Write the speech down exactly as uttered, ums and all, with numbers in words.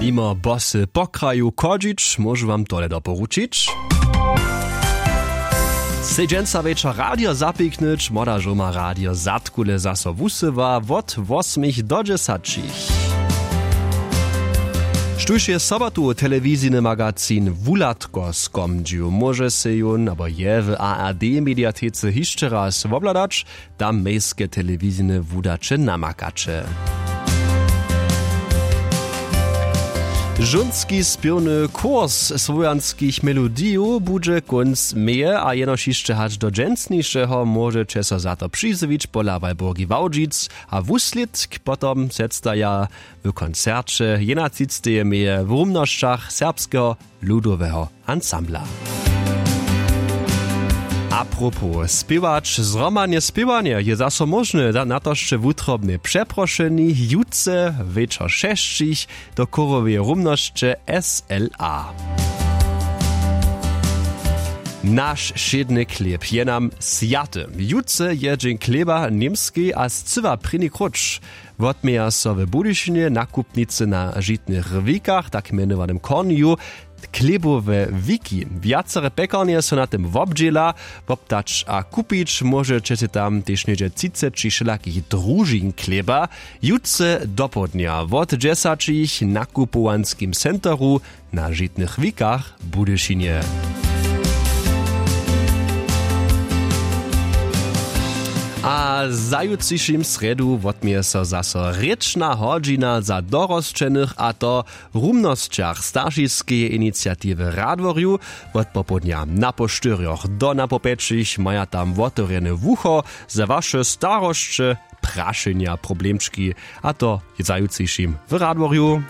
Nimo bosy po kraju chodźić, móžu wam tole doporučić. Sej dźensa wječor radio zapiknyć, młoda žoma radio zadkule zaso wusyła wot wosmich do dźesaćich. Štóž je sobotu telewizijny magazin wuhladko skomdźił, móže sej jón abo je w ard mediatece hišće raz wobhladać. Tam mejske telewizijne wudaće namakaće. Žónski spěwny kurs słowjanskich melodijow budźe kónc meje a jenož hišće hač do dźensnišeho móžeće so za to přizjewić pola walburgi wałdźic. A wuslědk potom předstaja w koncerće jenaćisteje meje w rumnosćach serbskeho ludoweho ansambla. Apropos spěwać, zhromadne spěwanje je zaso móžne. Na to sće wutrobne přeprošeni jutře wječor šesćich do chóroweje rumnosće sla. Naš wšědny chlěb je nam swjaty. Jutře je dźeń chlěba w němskej a scyła prěni króć. Wotměja so w budyšinje nakupnicy na žitnych wikach tak mjenowanym kornju. Chlěbowe wiki wjacere pjekarnje so na tym wobdźěla. Wobdać a kupić móžeće sej tam tež něhdźe třiceći wšelakich družin chlěba. Jutře dopołdnja wot dźesaćich nakupowanskim centeru na žitnych wikach w budyšinje. A za jutřišim srjedu wotměje so zaso rěčna hodźina za dorosćenych a to w rumnosćach staršiskeje iniciatiwy w radworju. Wot popołdnja na po štyrjoch do na po pjećich maja tam wotewrjene wucho za waše starosće, prašenja, problemčki. A to za jutřišim w radworju.